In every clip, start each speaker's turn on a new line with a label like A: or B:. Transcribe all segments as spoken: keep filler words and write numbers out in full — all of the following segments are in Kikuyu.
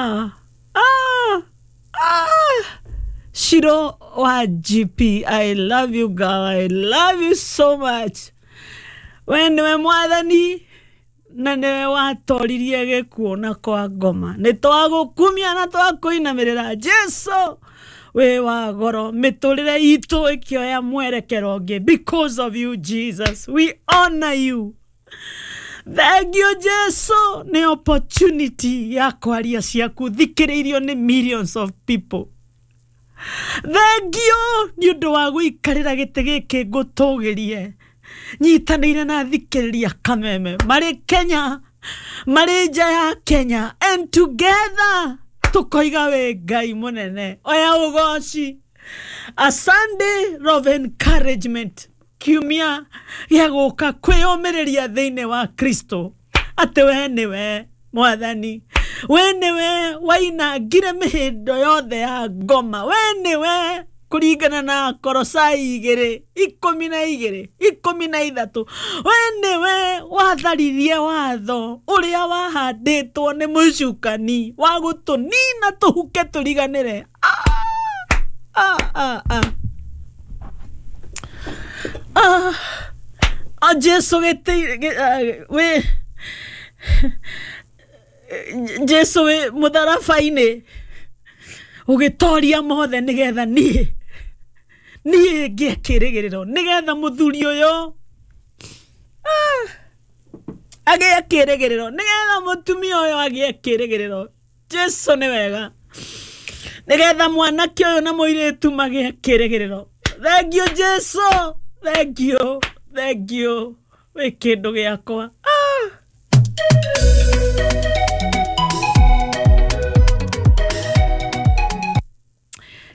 A: Ah, ah, ah. Shiro wa G P, I love you girl, I love you so much. We nĩwe mwathani na nĩwe watoririe gĩkuũ na kwa ngoma. Nĩ twagũkumia na twakũinamĩrĩra Jesu wĩ wa goro. Mĩtũrĩre itũ ĩkĩoya mwerekero ũngĩ because of you Jesus, we honor you. Thank you Jesu nĩ opportunity ya kwaria ciaku thikĩrĩirio nĩ millions of people. Thank you nĩ ũndũ wa gũikarĩra gĩtĩ gĩkĩ ngũtũgĩrie nyitanĩire na thikĩrĩria Kameme marĩ Kenya, marĩ nja ya Kenya, and together tukoiga wĩ Ngai mũnene. Oya ũgoci. A Sunday of encouragement, kiumia gĩa gũka kwĩyũmĩrĩria thĩinĩ wa Kristo atĩ we nĩwe mwathani, we nĩwe wainangire mĩhĩndo yothe ya ngoma, we nĩwe kũringana na Kolosai igĩrĩ ikũmi na igĩrĩ ikũmi na ithatũ, we nĩwe watharirie watho ũrĩa wahandĩtwo nĩ mũcukani wa gũtũnina tũhuke tũriganĩre. Ah, ah, ah, ah. Ah, ah, Jesu gĩtĩ wĩ Jesu wĩ mũtharaba-inĩ ũgĩtoria mothe nĩgetha niĩ niĩ ngĩe kĩrĩgĩrĩro, nĩgetha mũthuri ũyũ agĩe kĩrĩgĩrĩro, nĩgetha mũtumia ũyũ agĩe kĩrĩgĩrĩro. Jesu nĩ wega, nĩgetha mwanake ũyũ na mũirĩtu magĩe kĩrĩgĩrĩro. Thank you Jesu, thank you, thank you, wĩ kĩndũ gĩakwa. Ah.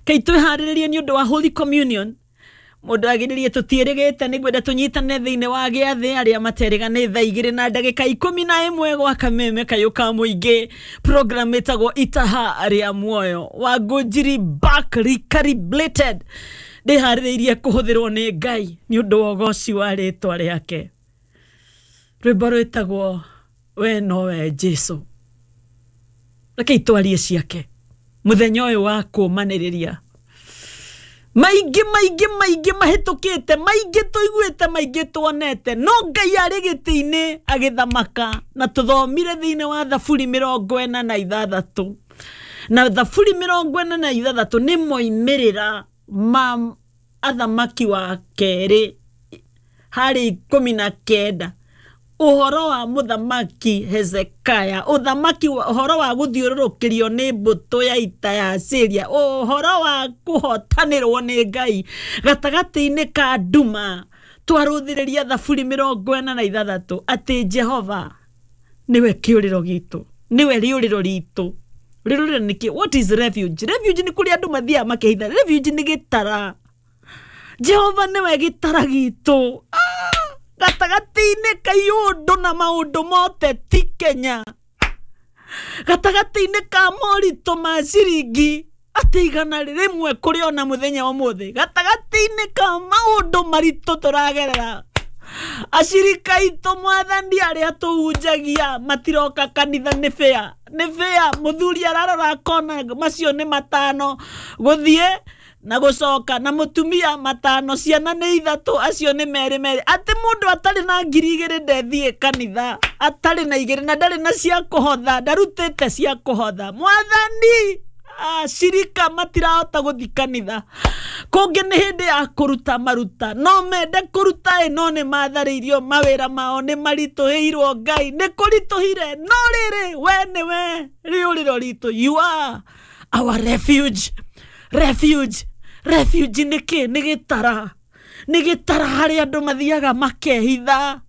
A: Kei twĩharĩrĩrie nĩ ũndũ wa Holy Communion. Mũndũ agĩrĩrie tũtiĩrĩgĩte, nĩ ngwenda tũnyitane thĩinĩ wa gĩathĩ arĩa materĩga nĩ thaa igĩrĩ na ndagĩka ikũmi na ĩmwe gwa Kameme kayũ ka mũingĩ. Program ĩtagwo Itaha rĩa Muoyo wa Ngũnjiri back recalibrated. Ndĩharĩrĩirie kũhũthĩrwo nĩ Ngai nĩ ũndũ wa ũgoci wa rĩtwa rĩake. Rwĩmbo rwĩtagwo We nowe Jesu. Rekei twarie ciake mũthenya ũyũ wa kũũmanĩrĩria. Maingĩ maingĩ maingĩ mahĩtũkĩte, maingĩ tũiguĩte, maingĩ tuonete, no Ngai arĩ gĩtĩ-inĩ agĩthamaka. Na tũthomire thĩinĩ wa Thaburi mĩrongo ĩna na ithathatũ, na Thaburi mĩrongo ĩna na ithathatũ nĩ moimĩrĩra ma athamaki wa kerĩ harĩ ikũmi na kenda, ũhoro wa mũthamaki Hezekiah, ũthamaki ũhoro wa gũthiũrũrũkĩrio nĩ mbũtũ ya ita ya Syria, ũhoro wa kũhotanĩrwo nĩ Ngai gatagatĩ-inĩ ka nduma. Twarũthĩrĩria Thaburi mĩrongo ĩna na ithathatũ atĩ Jehova nĩwe kĩũrĩro gitũ, nĩwe rĩũrĩro ritũ. Rĩũrĩro nĩ kĩ? What is refuge? Refuge nĩ kũrĩa andũ mathiaga makehitha. Refuge nĩ gĩtara. Jehova nĩwe gĩtara gitũ. Ah! Gatagatĩ-inĩ ka iũndũ na maũndũ mothe ti Kenya, gatagatĩ-inĩ ka moritũ ma ciringi atĩ igana rĩmwe kũrĩ ona mũthenya ũmũthĩ, gatagatĩ-inĩ ka maũndũ maritũ tũragerera, acirika aitũ mwathani arĩa tũhunjagia matiroka kanitha nĩ bĩa, nĩ bĩa. Mũthuri ararora akona macio nĩ matano gũthiĩ na gũcoka, na mũtumia matano, ciana nĩ ithatũ, acio nĩ merĩ merĩ. Atĩ mũndũ atarĩ na ngiri igĩrĩ ndethiĩ kanitha, atarĩ na igĩrĩ na ndarĩ na cia kũhotha, ndarutĩte cia kũhotha. Mwathani, acirika matirahota gũthiĩ kanitha. Kũngĩ nĩ hĩndĩ ya kũruta maruta, no mende kũruta ĩ no nĩ matharĩirio mawĩra mao, nĩ maritũhĩirwo Ngai, nĩ kũritũhire, no rĩrĩ we nĩwe rĩũrĩro ritũ. You are our refuge. Refuge, refuge nĩ kĩ? Nĩ gĩtara, nĩ gĩtara harĩa andũ mathiaga makehitha,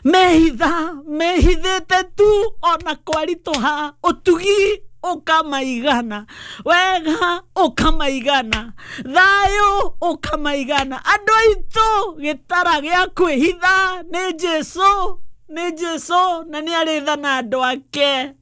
A: mehitha, mehithĩte tu ona kwaritũha, ũtugi ũkamaigana, wega ũkamaigana, thayũ ũkamaigana. Andũ aitũ gĩtara gĩa kwĩhitha nĩ Jesu, nĩ Jesu, na nĩ arĩtha na andũ ake.